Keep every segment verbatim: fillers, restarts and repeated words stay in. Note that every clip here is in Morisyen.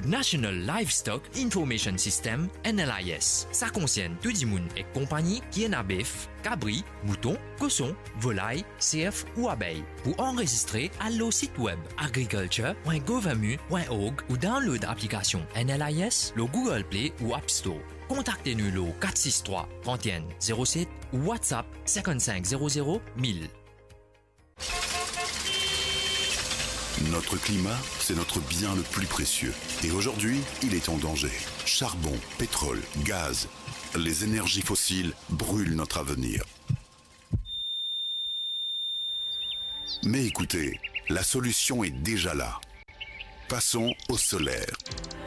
National Livestock Information System, N L I S. Sa konsern tou dimoun ek konpagni ki ena bef, kabri, mouton, koson, volay, serf ou abey. Pou anrezistre, al lor sit web agriculture point gouv mu point org ou download aplikasion N L I S lor Google Play ou App Store. Kontakte nou lor kat sis trwa, trant enn, zero set ou WhatsApp cinquante-cinq zéro zéro mille. Notre climat, c'est notre bien le plus précieux. Et aujourd'hui, il est en danger. Charbon, pétrole, gaz, les énergies fossiles brûlent notre avenir. Mais écoutez, la solution est déjà là. Passons au solaire.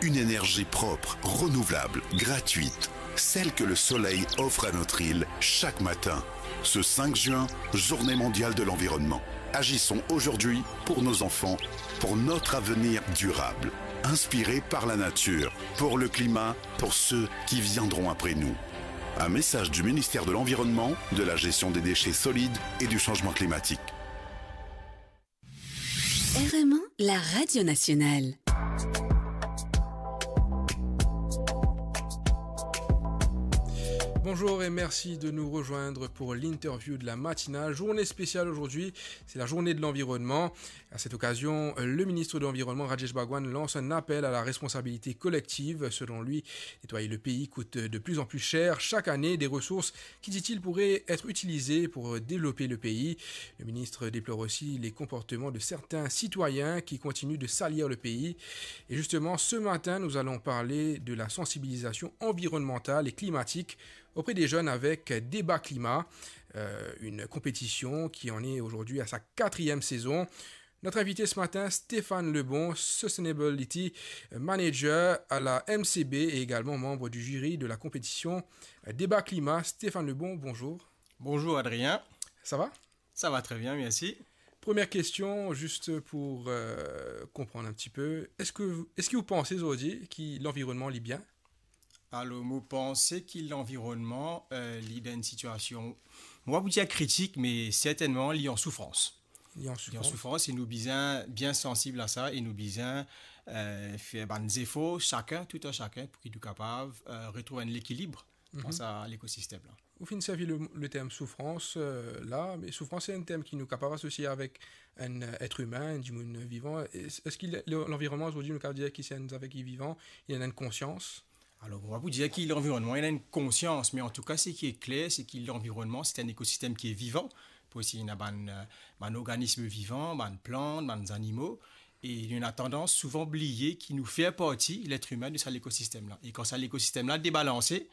Une énergie propre, renouvelable, gratuite, celle que le soleil offre à notre île chaque matin. Ce cinq juin, journée mondiale de l'environnement. Agissons aujourd'hui pour nos enfants, pour notre avenir durable. Inspiré par la nature, pour le climat, pour ceux qui viendront après nous. Un message du ministère de l'Environnement, de la Gestion des déchets solides et du Changement climatique. R M un, la radio nationale. Bonjour et merci de nous rejoindre pour l'interview de la matinale. Journée spéciale aujourd'hui, c'est la journée de l'environnement. À cette occasion, le ministre de l'Environnement, Rajesh Bhagwan, lance un appel à la responsabilité collective. Selon lui, nettoyer le pays coûte de plus en plus cher chaque année. Des ressources qui, dit-il, pourraient être utilisées pour développer le pays. Le ministre déplore aussi les comportements de certains citoyens qui continuent de salir le pays. Et justement, ce matin, nous allons parler de la sensibilisation environnementale et climatique auprès des jeunes avec Débat Climat, euh, une compétition qui en est aujourd'hui à sa quatrième saison. Notre invité ce matin, Stéphane Lebon, Sustainability Manager à la M C B et également membre du jury de la compétition Débat Climat. Stéphane Lebon, bonjour. Bonjour Adrien. Ça va ? Ça va très bien, merci. Première question, juste pour, euh, comprendre un petit peu. Est-ce que, est-ce que vous pensez aujourd'hui que l'environnement est bien ? Alor, mo panse ki lanvironnman, euh, li dan enn sitiasion, mo pa pou dir kritik, me sertennman, li an soufrans. Li an soufrans. Li an soufrans, e nou bizin bien sansib a sa, e nou bizin, euh, fer bann zefor, sakenn, tou enn sakenn, pou ki nou kapav, euh, retrouv enn lekilib dan sa lekosistem la. Ou finn servi le, le term soufrans, euh, la, me soufrans, se enn term ki nou kapav asosie avek enn, euh, et imin, enn dimoun vivan. Es, eski le, le, lanvironnman, zordi, nou kapav dir ki se enn zafer ki vivan, li ena enn konsians ? Alor, mo pa pou dir ki lanvironnman, li ena enn konsians, me antouka, seki kler, se ki lanvironnman, se enn ekosistem ki vivan, parski ena bann, euh, bann organism vivan, bann plant, bann zanimo, e nou ena tandans souvan bliye ki nou fer parti, let imin, de sa lekosistem la. E kan sa lekosistem la debalanse,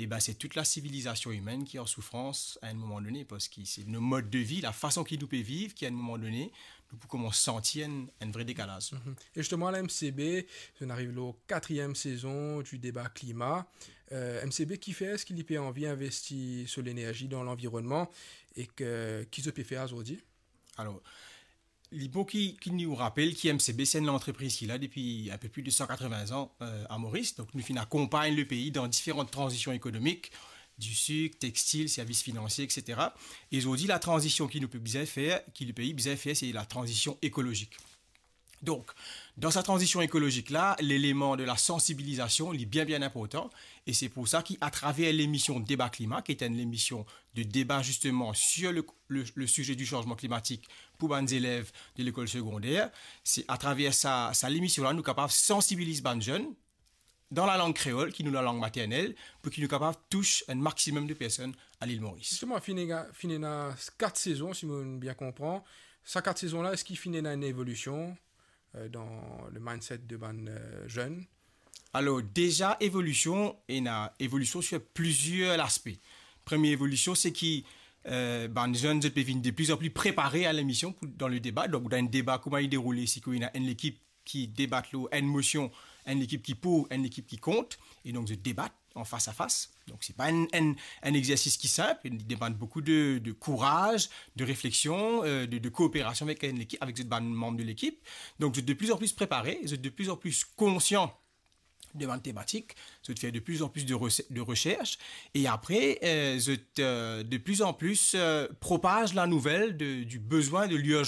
e ben, se tou la sivilizasion imenn ki an soufrans a enn moman done, parski se nou mod de vi, lafason ki nou pe viv, ki a enn moman done, nou pou koumans santi enn, enn vre dekalaz. Mhm. E zisteman, la M C B, nou ariv lor katriem sezon di deba klima. Euh, M C B, kifer eski li pe anvi investi so lenerzi dan lanvironnman e ki, ki zot pe fer zordi? Alor, li bon ki, ki nou rapel ki M C B, se enn lantrepriz ki la depi enn pe plis de san katreven an, euh, a Moris. Donk, nou finn akonpagn lepei dan diferan tranzision ekonomik, disik, textil, servis finansie, et cetera. E zordi, la tranzision ki nou pe bizin fer, ki lepei bizin fer, se la tranzision ekolozik. Donk, dan sa tranzision ekolozik la, leleman de la sansibilizasion, li bien, bien inportan. E se pou sa ki, atraver lemision Deba Klima, ki ete enn lemision de deba, zisteman, sir le, le, le size di sanzman klimatik pou bann zelev de lekol segonder, se atraver sa, sa lemision la, nou kapav sansibiliz bann zenn dan lalang kreol, ki nou lalang maternel, pou ki nou kapav tous enn maximum de personn a Lil Moris. Zisteman, finn ena, finn ena kat sezon, si mo bien konpran. Sa kat sezon la, eski finn ena enn evolision, euh, dan le mindset de bann, euh, zenn? Alor, deza evolision, ena evolision sir plizier laspe. Premie evolision, se ki, euh, bann zenn, zot pe vinn de pli an pli prepare a lemision pou, dan le deba. Donk, dan enn deba, kouma li deroule, se ki ena enn lekip ki debat lor enn mosion, enn lekip ki pou, enn lekip ki kont, e donk zot debat an fas a fas. Donk, se pa enn, enn, enn exersis ki sinp, li demann boukou de, de kouraz, de refleksion, euh, de, de kooperasion avek enn lekip, avek zot bann manm de lekip. Donk, zot de pli an pli prepare, zot de pli an pli konsian de bann tematik, zot fer de pli an pli de rese-, de resers, e apre, euh, zot, euh, de pli an pli, euh, propaz lanouvel de, di bizin, de lirzans